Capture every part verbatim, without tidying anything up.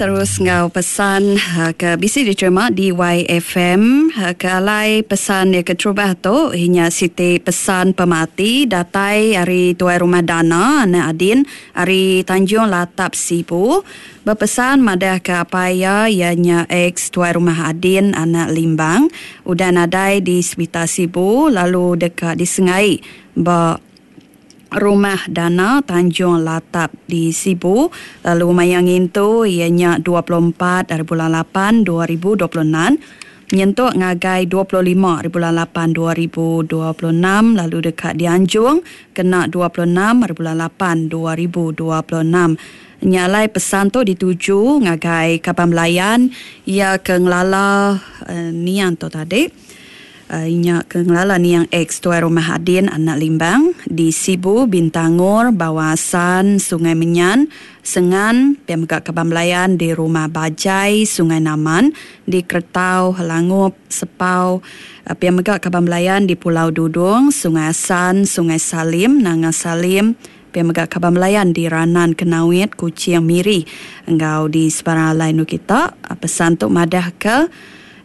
Terus enggau pesan ke bisi diterima di Y F M ke alai pesan iya keterubah tu inya siti pesan pemati datai ari Tuai Rumah Dana anak Adin ari Tanjung Latap, Sibu, bepesan madah ke apai iya, iya nya ex Tuai Rumah Adin anak Limbang, udah nadai di Sepital Sibu lalu deka disengai ba Rumah Dana, Tanjung Latap di Sibu, lalu maya ngintu iya nya dua puluh empat hari bulan lapan dua ribu dua puluh enam nyentuk ngagai dua puluh lima hari bulan lapan dua ribu dua puluh enam, lalu deka dianjung kena dua puluh enam hari bulan lapan dua ribu dua puluh enam. Nya alai pesan tu dituju ngagai kaban belayan iya ke ngelala uh, niang tu tadi. Uh, nya ke ngelala niang ex Tuai Rumah Adin anak Limbang di Sibu, Bintangor, Bawasan, Sungai Menyan, Sengan, pia mega kaban belayan di Rumah Bajai, Sungai Naman, di Kertau, Langup, Sepau, uh, pia mega kaban belayan di Pulau Dudung, Sungai Asan, Sungai Salim, Nanga Salim, pia mega kaban belayan di Ranan Kenawit, Kuching, Miri, enggau di sebarang alai nu kita. Uh, pesan tu madah ke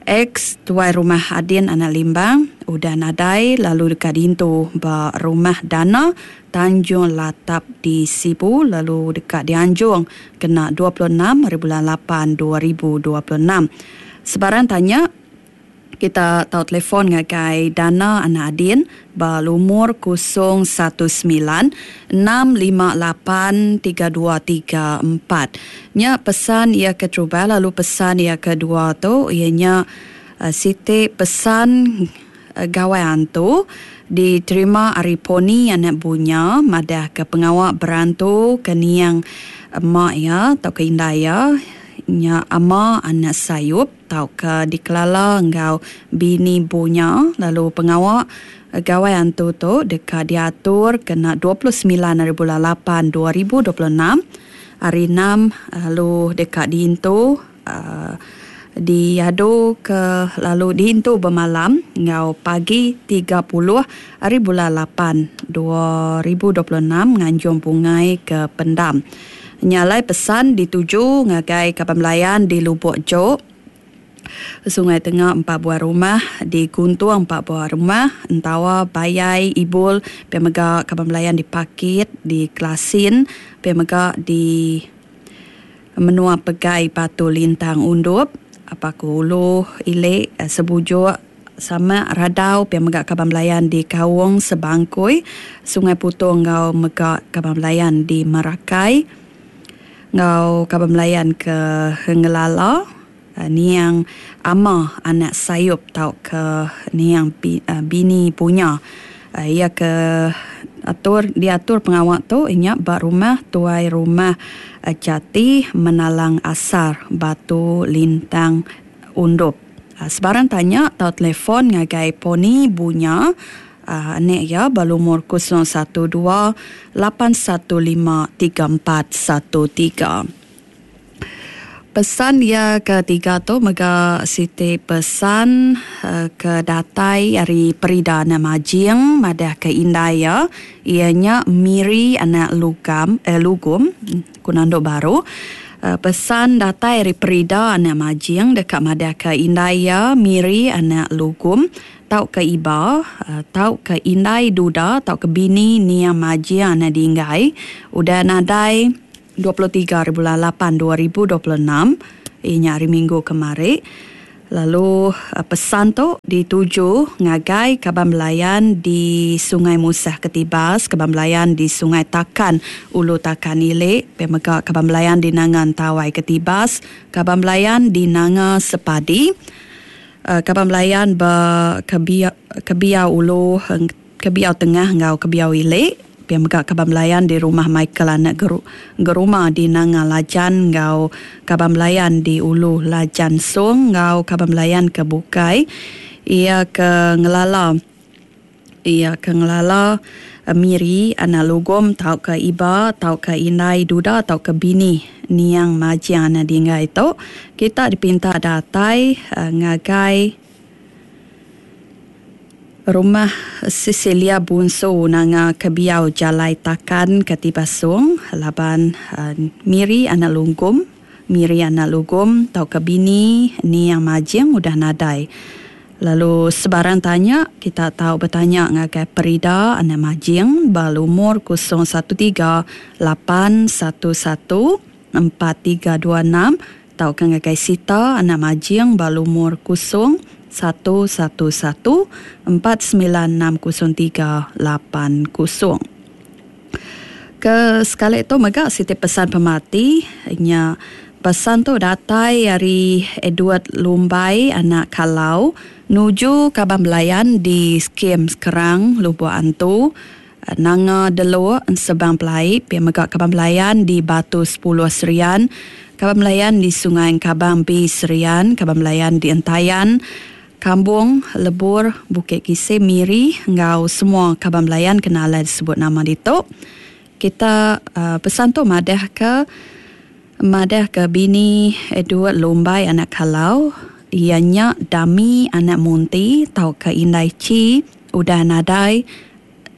ex Tuai Rumah Adin anak Limbang udah nadai lalu deka diintu ba Rumah Dana, Tanjung Latap di Sibu, lalu deka dianjung kena dua puluh enam hari bulan lapan dua ribu dua puluh enam. Sebarang tanya kita tau telefon ngagai Dana anak Adin ba lumur kosong satu semilan enam lima lapan tiga dua tiga empat. Nya pesan ia keterubah, lalu pesan ia kedua tu ianya uh, siti pesan uh, gawai antu diterima ari Poni anak Bunya madah ke pengawa berantu ke niang emak iya atau ke indai iya nya Ama anak Sayup tau ke dikelala enggau bini Bunya, lalu pengawa gawai antu tu deka diatur kena dua puluh semilan hari bulan lapan dua ribu dua puluh enam hari enam, lalu deka diintu uh, diadu ke lalu diintu bermalam enggau pagi tiga puluh hari bulan lapan dua ribu dua puluh enam nganjung bungai ke pendam. Nya alai pesan dituju ngagai kaban belayan di Lubuk Jok, Sungai Tengah empat buah rumah, di Guntung empat buah rumah, Entawa, Bayai, Ibul, pia mega kaban belayan di Pakit, di Klasin, pia mega di menua Pegai Batu Lintang Undup, apa ku Ulu Ilik, eh, Sebujuk, sama Radau, pia mega kaban belayan di Kaung, Sebangkui, Sungai Putong, enggau mega kaban belayan di Merakai, enggau kaban belayan ke ngelala uh, niang Ama anak Sayup tau ke niang uh, bini punya. Uh, ia ke atur diatur pengawa tu inya ba rumah Tuai Rumah Jati Menalang Asar, Batu Lintang Undup. Sebarang tanya atau telefon ngagai Poni Bunya uh, anak ya berumur kosong satu dua lapan satu lima tiga empat satu tiga. Pesan dia ketiga tu mega siti pesan uh, ke datai ari Perida anak Majing madah ke indai ya ianya Miri anak Lugam eh, Lugum Kunando Baru. Uh, pesan datai ari Perida anak Majing dekat madah ke indai ya Miri anak Lugum tau ke iba uh, tau ke indai Duda tau ke bini Nia Majing anak Dinggai udah nadai dua puluh tiga hari bulan lapan dua ribu dua puluh enam, inya hari Minggu kemari, lalu uh, pesan tu dituju ngagai kaban belayan di Sungai Musah Ketibas, kaban belayan di Sungai Takan Ulu Takan Ilik, pemega kaban belayan di Nangan Tawai Ketibas, kaban belayan di Nanga Sepadi, uh, kaban belayan ba Kebiau, Kebiau Ulu, Kebiau Tengah enggau Kebiau Ilik, pia mega kaban belayan di rumah Michael anak Geru, Geruma di Nanga Lajan, enggau kaban belayan di Ulu Lajan Song, enggau kaban belayan ke bukai ia ke ngelala ia ke ngelala eh, Miri anak Lugom tau ke iba tau ke indai Duda tau ke bini niang Majing anak Dinggai tu, kita dipinta datai uh, ngagai Rumah Cecilia Bunsu, Nanga Kebiau, Jalai Takan Ketibasung, laban uh, Miri anak Lunggum Miri anak Lugum tauka bini Niang Majing udah nadai. Lalu sebarang tanya kita tau betanya ngagai Perida anak Majing ba lumur kosong satu tiga lapan satu satu empat tiga dua enam tauka ngagai Sita anak Majing ba lumur kosong satu satu satu empat sembilan enam kosong tiga lapan kosong. Ke sekali tu mega siti pesan pemati nya. Pesan tu datai ari Edward Lumbai anak Kalau nuju Kaban Belayan di Skim Sekerang Lubuk Antu Nanga Delok Sebang Pelai, pia mega Kaban Belayan di Batu sepuluh Serian, Kaban Belayan di Sungai Kabang B Serian, Kaban Belayan di Entayan, Kambung, Lebur, Bukit Kisih, Miri enggau semua Kaban Belayan kena alai disebut nama ditu. Kita uh, pesan tu madah ke madah ke bini Edward Lumbai anak Kalau ianya Dami anak Munti tauka Indai Chi udah nadai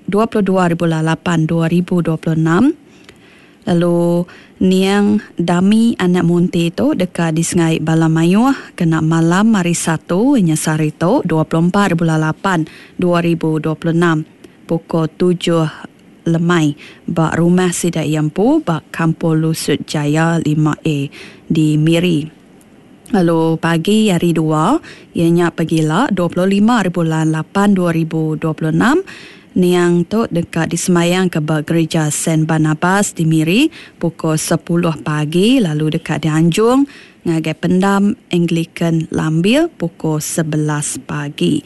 dua puluh dua ribu lapan dua ribu dua puluh enam. Lalu niang Dami anak Munti tu deka disengai bala mayuh kena malam hari Satu inya sehari tu dua puluh empat ribu lapan dua ribu dua puluh enam pukul tujuh lemai ba rumah sida Iampu ba Kampung Lusut Jaya lima A di Miri. Lalu pagi hari dua ianya pagila dua puluh lima ribu lapan dua ribu dua puluh enam niang tu deka disemayang ke ba Gereja Saint Barnabas di Miri pukul sepuluh pagi lalu deka dianjung ngagai Pendam Anglican Lambil pukul sebelas pagi.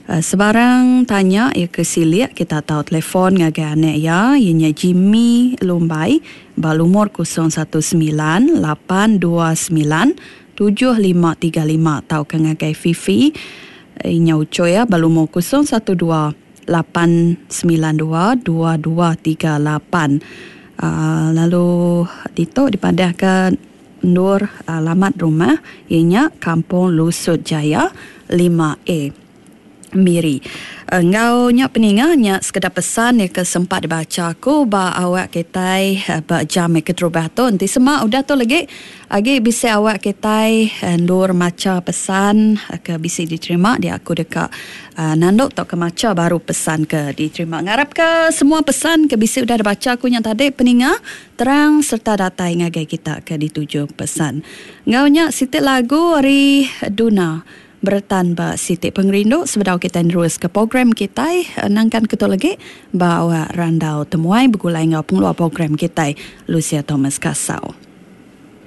Sebarang tanya ia ke silik kita tahu telefon ngagai anak ia ianya Jimmy Lumbai ba lumur kosong satu sembilan lapan dua sembilan tujuh lima tiga lima tauka ngagai Fifi ianya ucu ia ba lumur kosong satu dua lapan sembilan dua dua dua tiga lapan. Uh, lalu ditu dipadahkan nur alamat rumah ianya Kampung Lusut Jaya lima A Miri. Enggau nya peninga nya sekedar pesan yang ke sempat dibaca aku ba awak kitai ba jam ke terubah tu. Enti semak udah tu lagi agi bisa awak kitai ndur maca pesan ke bisi diterima dia aku deka uh, nanduk tau ke maca baru pesan ke diterima. Ngarap ke semua pesan ke bisi udah dibaca aku nya tadi peninga terang serta datai ngagai kita ke dituju pesan. Enggau nya siti lagu ari Duna Beretan ba Siti Pengerindu sebedau kita terus ke program kita nangkan ketu lagi ba awak randau temuai begulai ngau pengeluar program kita Lucia Thomas Kasau.